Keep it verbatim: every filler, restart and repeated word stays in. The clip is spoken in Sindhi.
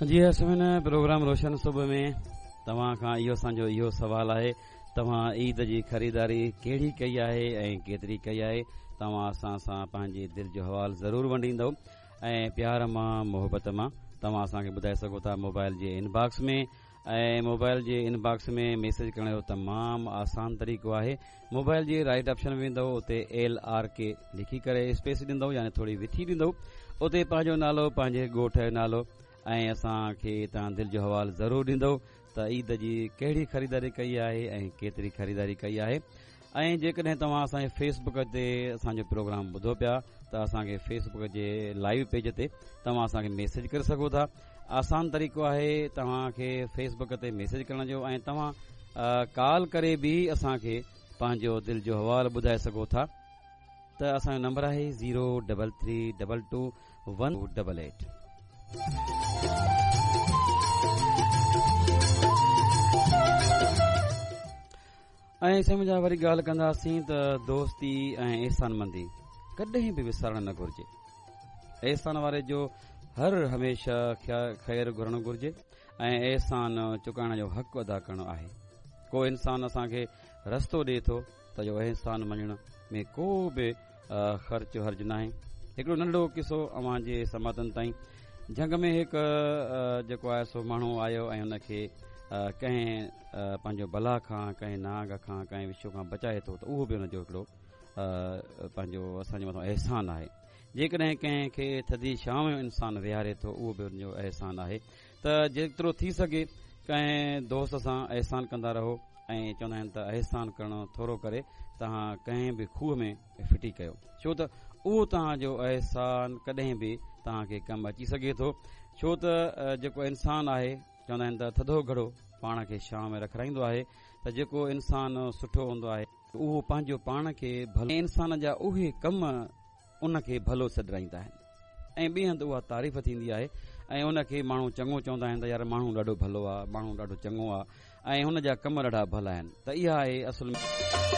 جي ها سامعين، پروگرام روشن صبح ۾ توهان کان اهو اسان جو اهو سوال آهي، توهان عيد جي خريداري ڪهڙي ڪئي آهي ۽ ڪيتري ڪئي آهي؟ توهان اسان سان پنهنجي دل جو حوال ضرور ونڊيندؤ ۽ پيار مان محبت مان توهان اسان کي ٻڌائي سگهو ٿا موبائل جي ان باڪس ۾. ۽ موبائل جي ان باڪس ۾ ميسيج ڪرڻ جو تمام آسان طريقو آهي. موبائل جي رائٽ آپشن ۾ ويندؤ، اتي ايل آر ڪي لکي ڪري اسپيس ڏيندؤ، يعني ٿوري وٿي ڏيندؤ، اتي پنهنجو نالو، پنهنجي ڳوٺ جو نالو ۽ اسان کي توهان دل جو حوال ضرور ڏيندؤ ته عيد جي ڪهڙي خريداري ڪئي آهي ۽ ڪيتري خريداري ڪئي آهي. ۽ جيڪڏهن توهان اسان جي فيس بڪ تي اسان جو پروگرام ٻڌو پيا ته اسان کي فيس بڪ جي لائيو پيج تي توهان اسان کي ميسيج ڪري سگهو ٿا. آسان طريقو آهي توهان کي فيس بڪ تي ميسيج ڪرڻ جو، ۽ توهان ڪال ڪري به اسان کي پنهنجو دل جو حوال ٻڌائي سگهو ٿا. ته اسان جو نمبر آهي zero double three double two one double eight. ۽ سمجھا وري ڳالهه ڪنداسين ته دوستي ۽ احسان مندي ڪڏهن به وسارڻ نه گهرجي. احسان واري جو هر هميشه خير گهرڻ گهرجي ۽ احسان چڪائڻ جو حق ادا ڪرڻو آهي. ڪو انسان اسان کي رستو ڏئي ٿو ته اهو احسان مڃڻ ۾ ڪو به خرچ حرج ناهي. هڪڙو ننڍڙو قصو اوهان جي سماعتن تائين. جهنگ ۾ هڪ جيڪو آهي سو ماڻهو آيو ۽ هن کي ڪنهن پنهنجو بلا کان، ڪنهن نانگ کان، ڪنهن وڇو کان بچائي ٿو ته اهو به هن جو هڪڙو پنهنجو اسان جي مٿان احسان آهي. جيڪڏهن ڪنهن کي ٿڌي ڇانو ۾ انسان ويهاري ٿو اهو به هن جو احسان آهي. ته جيترو ٿي سگهي ڪنهن دوست سان احسان ڪندا رهو. ۽ چوندا آهن ته احسان ڪرڻ ٿورو ڪري توهان ڪنهن به کوهه ۾ ڦٽي ڪيو، ڇو ته اهو توهان جو احسان ڪڏهن به توهان کي ڪم اچي سگهي ٿو. ڇو ته جيڪو انسان آهي، چوندا آهن ته ٿڌو گهڙو پاڻ کي ڇانو ۾ رکرائيندو آهي. ته جيڪو انسان سٺو هوندو آهي اهو پنهنجو پاڻ کي ڀلو، انسان جا اهي ڪم ان کي ڀلو سڏرائيندا آهن ۽ ٻئي هنڌ اها تعريف ٿيندي آهي ۽ ان کي ماڻهو چڱو چوندا آهن ته يار ماڻهو ڏاڍو ڀلو آهي، ماڻهو ڏاڍو چڱو آهي ۽ هن جا ڪم ڏاڍا ڀلا آهن. ته اها آهي اصل